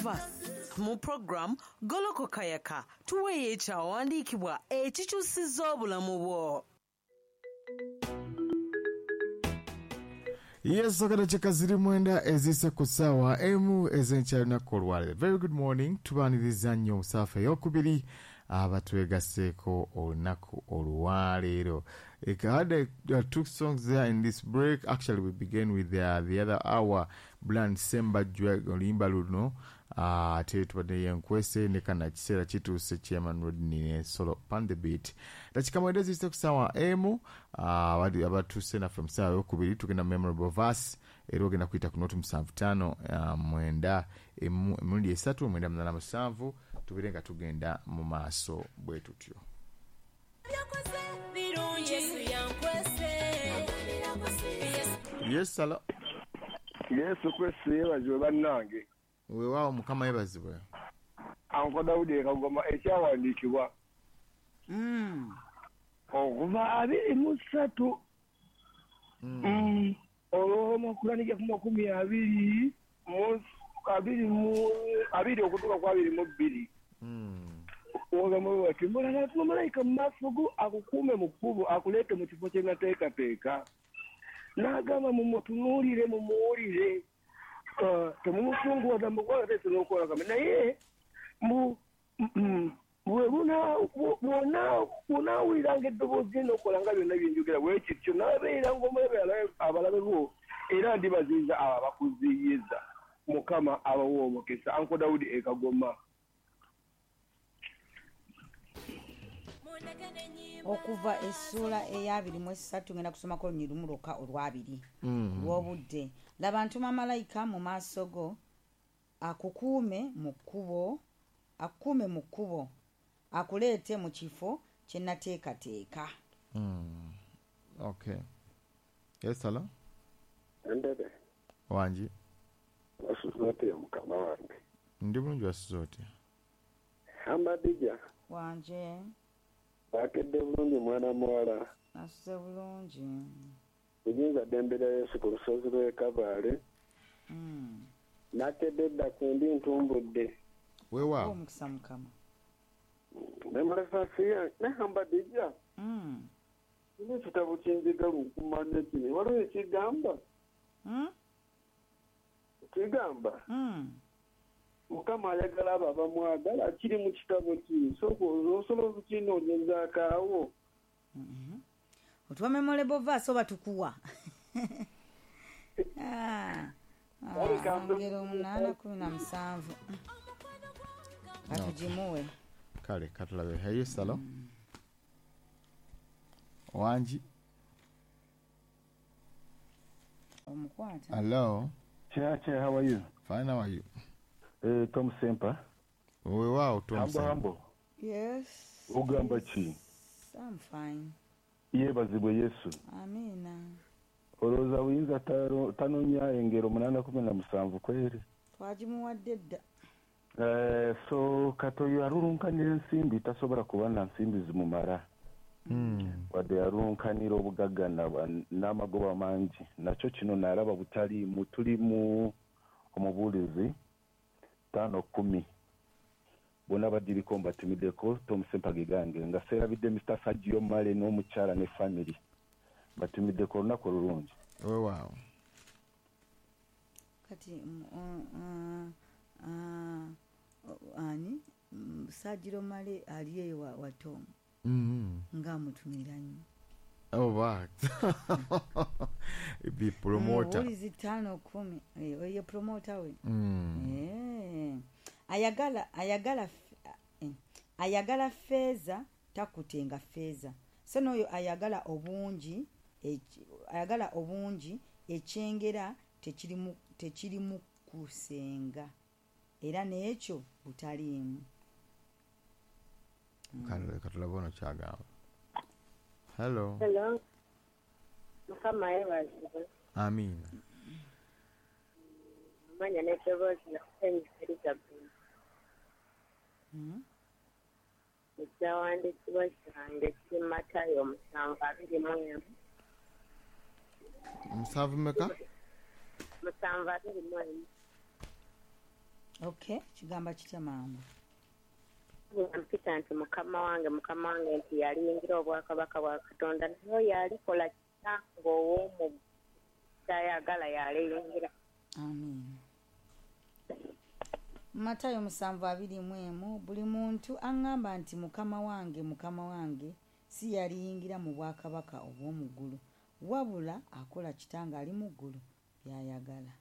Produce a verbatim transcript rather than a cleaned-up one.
Verse mu program Golokoka Yaka, tuweeyo ekyawandiikibwa ekikyusizza obulamu bwo. Yes, akadakika ziri mwenda ezise ku ssaawa emu ez'enkya lunaku olwaleero. Very good morning, tubaaniriza nnyo mu ssaafa ey'okubiri abatwegasseeko olunaku olwaleero. I had uh, two songs there in this break. Actually, we began with the, the other hour, Bland Sembajwe oluyimba luno, ate tubadde yenkwese ne kana kiseera kituuse Chairman Rodney ne solo pan the beat. Dakika mwenda eziyise ku ssaawa emu, abatuuse naffe mu ssaawa ey'okubiri tugenda memorable verse era ogenda kuyita ku noti musanvu ttaano mwenda emirundi esatu mwenda munaana musanvu tubeere nga tugenda mu maaso bwe tutyo. Yes, hello. Yesu Kristo yeebazibwe bannange. Weewaawo Mukama yeebazibwe. Anko Dawudi e Kagoma ekyawandiikibwa okuva abiri mu ssatu olw'omukulanija ku makumi abiri mu abiri mu abiri okutuuka ku abiri mu bbiri. Ogamba bati mulala malayika mu maaso go akukuume mu kkubo akuleete mu kifo kye nateekateeka. N'agamba mumutunuulire mumuwulire, temumusunguwaza mukola teese n'okukola kame naye bw'onaawuliranga eddoboozi lye n'okola nga byonna bye njogera bwe kityo n'abeera ng'omulabe abalabe bo era ndibaziyiza abo abakuziyiza. Mukama abawe omukisa. Anko Dawudi e Kagoma. Okuva essuula ey'abiri mu esatu ngenda kusomako olunyiriri lumu lwokka olw'abiri lw'obudde. Laba ntuma malayika mu maaso go akukuume mu kkubo akukuume mu kkubo akuleete mu kifo kye nateekateeka. Okay. Yes, hello. Endebe. Wangi. Wasuze otya mukama wange? Ndi bulungi, wasuze otya? Hamadija. Wanje. Bakedde bulungi mwana muwala. Nasuze bulungi. Buyinza ddembe lya Yesu ku lusozi lw'e Kabaale. Mm. Nakedde dda ku ndi ntumbudde. Weewaawo. Omukisa Mukama. Nemulefasi ne Hamadija. Mm. Kino ekitabo kye njagala okumanya kino. Waliwo ekigamba? Mm? Kigamba? Mm. Mukama ayagala abo abamwagala kiri mu kitabo ki? Sooka osobola okukinoonyezaako awo. Otuwa memorable verse oba tukuwa? Ah, ngero munaana kumi na musanvu. Katugimuwe. Kale katulabe. Hey, yes, hello. Wangi. Omukwata. Hello. Chair, chair, how are you? Fine, how are you? Uh, Tom Sempa. Weewaawo Tom Hambo, Sempa. hambo. Yes. Ogamba ki? I'm fine. Yeebazibwe Yesu. Amiina. Olowooza buyinza tanoonya engero munaana kumi na musanvu kweri? Twagimuwadde dda. Eh, so katoyo alulunkanira ensimbi tasobola kuba na nsimbi zimumala. Mm. Wadde yalunkanira obugagga n'amagoba mangi nakyo kino nalaba butaliimu. Tuli mu omubuulizi ttaano kkumi bonna badiriko mbatumiddeko Tom Sempa gegange nga seerabidde Mister Sergio Male n'omukyala ne family batumiddeko olunaku olulungi. Weewaawo. Kati ani Sergio Male ali eyo wa, wa Tom. Mm. Ng'amutumira nnyo. Oh, be promoter. Omubuulizi ttaano kkumi oyo promoter we. Mm. Eh. Ayagala ayagala ayagala feeza takutenga feeza. So n'oyo ayagala obungi ayagala obungi ekyengera tekirimu tekirimu kusenga era n'ekyo butaliimu. Kale katulaba ono kyagamba. Hello. Hello. Mukama yeebazibwe. Amiina. Amanya n'eddoboozi nakusenyi Elizabeth. Ekyawandiikibwa kyange kiri Matayo musanvu abiri mu emu. Musanvu mmeka? Musanvu abiri mu emu. Okay, kigamba kitya maama? Mpita nti mukama wange, mukama wange, nti yaliyingira obwakabaka bwa Katonda, naye yalikola kitange ow'omu kyayagala yaliyingira. Amiina. Matayo musanvu abiri mu emu, buli muntu aŋŋamba nti mukama wange, mukama wange, si yaliyingira mu bwakabaka obw'omu ggulu, wabula akola kitange ali mu ggulu by'ayagala.